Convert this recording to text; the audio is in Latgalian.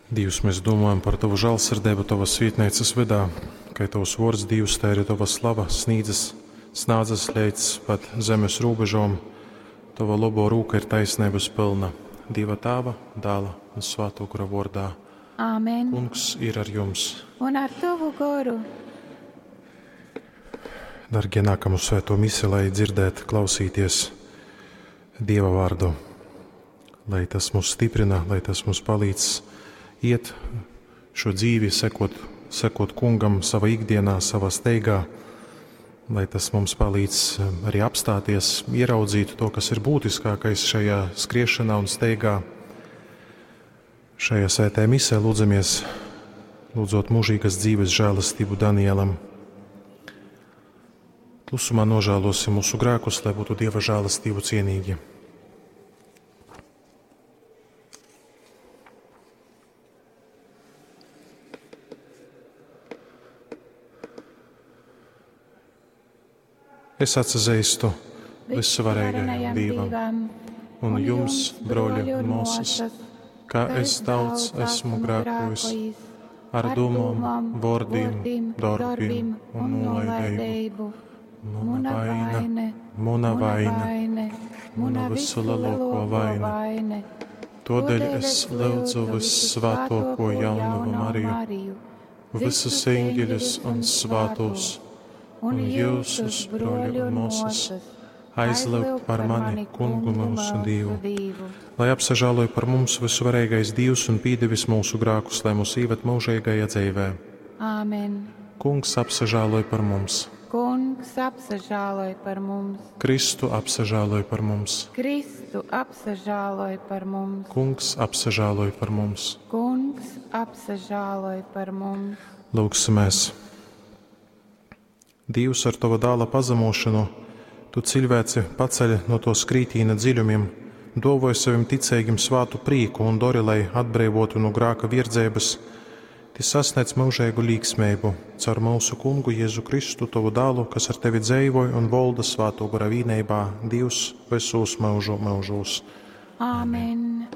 Dīvs, mēs domājam par Tavu žālsirdību Tavas svietnīcas vydā, kai Tavs vārds Dīvs, tā arī Tava slava snīdzas, snādzas līdz pat zemes robežām. Tava labo rūka ir taisnības pilna. Dieva Tāva, Dāla un Svāto Gara vārdā. Āmen. Kungs ir ar jums. Un ar tavu goru. Dargie, nākam uz svēto misi, lai dzirdētu, klausīties Dieva vārdu. Lai tas mūs stiprina, lai tas mums palīdz iet šo dzīvi, sekot, sekot kungam savā ikdienā, savā steigā, lai tas mums palīdz arī apstāties, ieraudzīt to, kas ir būtiskākais šajā skriešanā un steigā. Šajā svētajā misē lūdzamies, lūdzot mūžīgas dzīves žēlastību Danielam. Klusumā nožēlosim mūsu grēkus, lai būtu Dieva žēlastību cienīgi. Es atzīstu visuvarīgajam Dievam un jums, broļi un māsas, ka es daudz esmu grēkojis ar domām, vārdiem, darbiem un nolaidību. Mana vaina, mana vaina, mana visu lielāko vaina. Todēļ es lūdzu vissvētāko jaunavu Mariju, visus eņģeļus un svētos, un jūsus, broļi un māsas, aizlūgt par mani, kungu mūsu Dievu. Lai apsažāloja par mums visuvarīgais Dievs un pīdevis mūsu grēkus, lai mūs īvet mūžīgajā dzīvē. Āmen. Kungs apsažāloja par mums. Kungs apsažāloj par mums. Kristu apsažāloj par mums. Kristu apsažāloj par mums. Kungs apsažāloj par mums. Kungs apsažāloj par mums. Lūgsimies! Dievs ar Tava dāla pazemošanu, Tu cilvēci paceļ no to skrītīna dziļumiem, dovoj savim ticīgim svātu prīku un dori, lai atbrīvotu no grāka virdzības, Ti sasniedz mūžīgu līksmību caur mūsu kungu Jēzu Kristu, Tavu dālu, kas ar Tevi dzēvoja un volda svāto gara vīneibā, Dievs visos mūžu mūžos. Āmen.